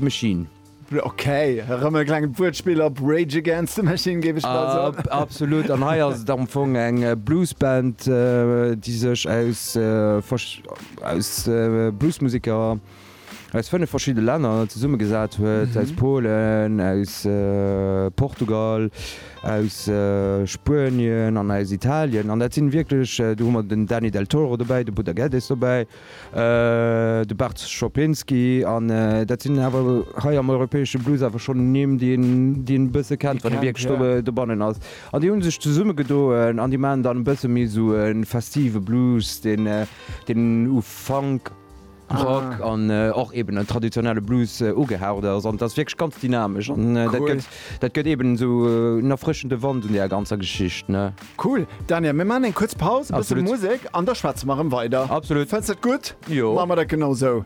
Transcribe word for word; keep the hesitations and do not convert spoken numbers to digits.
Machine. Ok, erëm e klengt Wuertspill op Rage Against the Machine, géif ech bal soen. Absolut, an hei ass et am Fong eng Bluesband, déi sech aus aus Bluesmuseker aus fënnef verschidde Länner zesummegesat huet, aus Polen, aus Portugal, aus Spuenien an aus Italien. An dat sinn wierklech, do hu mer den Dani Del Toro dobäi, de Buddha Geddes dobäi, De Bart Szopinski, an dat sinn awer hei am europäesche Blues awer schonn Nimm, déi een, déi een e bësse kennt, wann ee wierklech do, dobannen ass. An déi hu sech zesummegedoen an déi maachen dann e bësse méi esou e festive Blues, deen, deen u Funk, Rock an och eben en traditionelle Blues ugehaucht ass. An et ass wierklech ganz dynamesch an dat gëtt, dat gëtt eben esou en erfrëschende Wand un där ganzer Geschicht, ne. Cool. Daniel, mir maachen eng kuerz Paus, e bësse Musek an da schwätze mer erëm weider. Absolut. Fënns dat gutt? Jo. Maache mer dat genau esou.